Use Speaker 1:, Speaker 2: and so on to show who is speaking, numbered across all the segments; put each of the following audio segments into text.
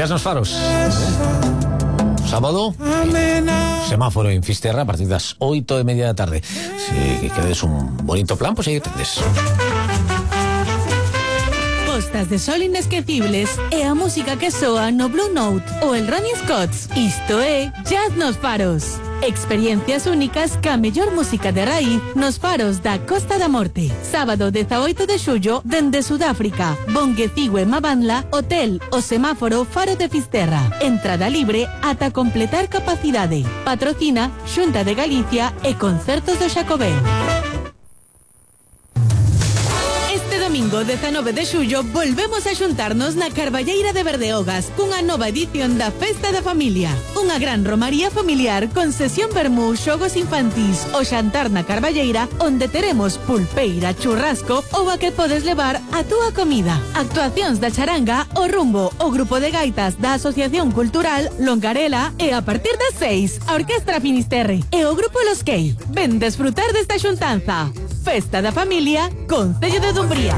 Speaker 1: Jazz nos faros. Sábado, semáforo en Fisterra a partir das 8:30 da tarde. Se quedes un bonito plan, pois aí tendes.
Speaker 2: Postas de sol inesquecibles e a música que soa no Blue Note ou el Ronnie Scott's. Isto é Jazz nos faros. Experiencias únicas ca mellor música de raíz nos faros da Costa da Morte. Sábado 18 de xullo dende Sudáfrica. Bonguecigue Mabanla, Hotel O Semáforo Faro de Fisterra. Entrada libre ata completar capacidade. Patrocina Xunta de Galicia e Concertos do Xacobeo. Domingo 19 de xullo volvemos a xuntarnos na Carballeira de Berdeogas cunha nova edición da Festa da Familia. Unha gran romaría familiar con sesión vermú, xogos infantís, o xantar na Carballeira onde teremos pulpeira, churrasco ou a que podes levar a túa comida. Actuacións da charanga, o rumbo, o grupo de gaitas da Asociación Cultural Longarela e a partir das 6 a Orquestra Finisterre e o grupo Los Key. Ven desfrutar desta xuntanza. Festa da Familia, Concello de Dumbría.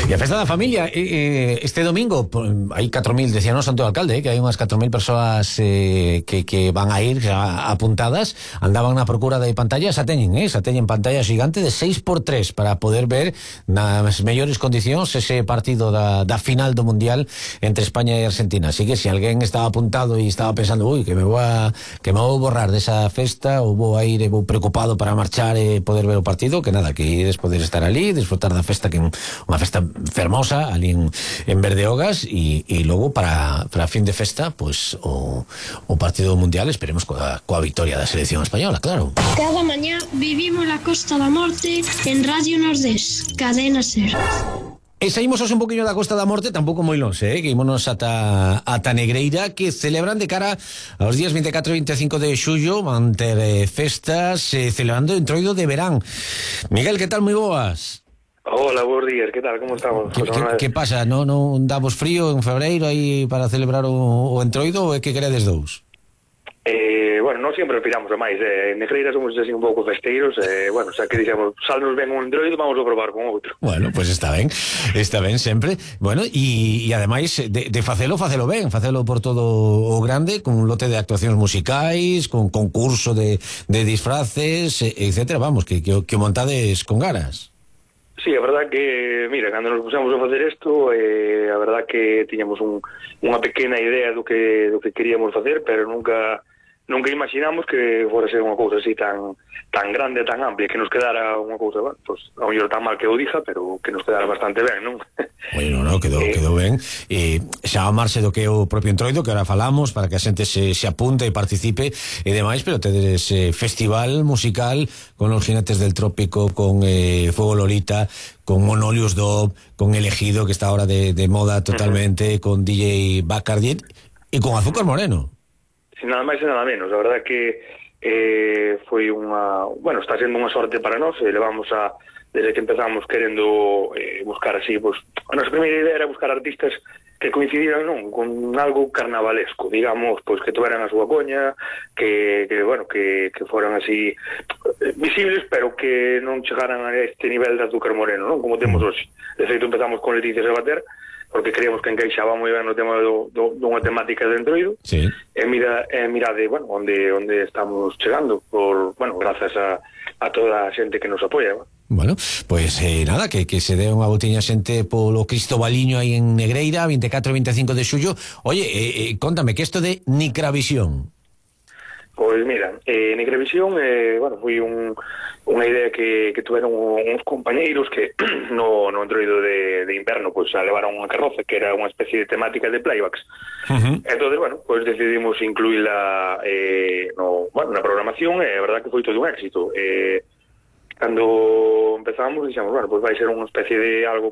Speaker 1: E a Festa da Familia este domingo hai 4.000, decía no Santo Alcalde, que hai unhas 4.000 persoas que van a ir apuntadas, andaban na procura de pantallas, xa teñen pantalla xigante de 6x3 para poder ver nas mellores condicións ese partido da final do Mundial entre España e Argentina. Así que se alguén estaba apuntado e estaba pensando, que me vou borrar desa festa ou vou a ir e vou preocupado para marchar e poder ver o partido, que nada, que ides poder estar ali, disfrutar da festa, que é unha festa fermosa ali en Berdeogas, e logo para fin de festa pois o partido mundial, esperemos coa victoria da selección española, claro.
Speaker 3: Cada mañá vivimos la Costa da Morte en Radio Nordés, Cadena Ser.
Speaker 1: E saímos un poquinho da Costa da Morte, tampouco moi longe, que ímonos ata Negreira, que celebran de cara aos días 24 e 25 de xullo, van ter festas celebrando o Entroido de verán. Miguel, que tal? Moi boas.
Speaker 4: Hola, buenos días, ¿qué tal? ¿Cómo estamos?
Speaker 1: Que pasa? Non damos frío en febreiro aí para celebrar o Entroido, ou é que queredes dous?
Speaker 4: Bueno, non sempre piramos a máis. En Negreira somos así un pouco festeiros. Bueno, xa que dixemos, salnos ben un Entroido, vamos a probar con outro.
Speaker 1: Bueno, pois está ben sempre. Bueno, e ademais de facelo ben, facelo por todo o grande, con un lote de actuacións musicais, con concurso de disfraces, etcétera. Vamos, que o montades con ganas.
Speaker 4: Sí, a verdad que, mira, cando nos pusemos a facer isto, a verdad que tiñamos unha pequena idea do que queríamos facer, pero nunca imaginamos que fora ser unha cousa así tan grande, tan amplia, que nos quedara unha cousa, bueno, pues, a mellor tan mal que o dija, pero que nos quedara bastante ben, non?
Speaker 1: Bueno, quedou ben. Xa a marxe do que é o propio Entroido, que ahora falamos, para que a xente se apunte e participe e demais, pero tedes festival musical con Los Jinetes del Trópico, con Fuego Lolita, con Monolius Dub, con Elegido, que está ahora de moda totalmente, con DJ Bacardi e con Azúcar Moreno.
Speaker 4: Sin nada máis e nada menos. A verdad que foi está sendo unha sorte para nós. Levamos desde que empezamos querendo buscar así, pues, a nosa primeira idea era buscar artistas que coincidiran con algo carnavalesco, digamos, pues que tuveran a súa coña, que foran así visibles, pero que non chegaran a este nivel de Azúcar Moreno, non como temos hoxe. De feito, empezamos con Leticia Sabater, porque creíamos que encaixaba moi ben no tema dunha temática de Entroido.
Speaker 1: Sí.
Speaker 4: Mirade, onde estamos chegando, gracias a toda a xente que nos apoia.
Speaker 1: Bueno, pois nada, que se dé unha botiña xente polo Cristobaliño aí en Negreira, 24 e 25 de xullo. Oye, contame, que isto de Nicravisión?
Speaker 4: Pois mira, Nicravisión foi unha idea que tuveron uns compañeiros que no Entroido de inverno pois levaron unha carroza que era unha especie de temática de playbacks. Entonces, pois decidimos incluíla na programación, e a verdad que foi todo un éxito. Cando empezamos, dixemos, pois vai ser unha especie de algo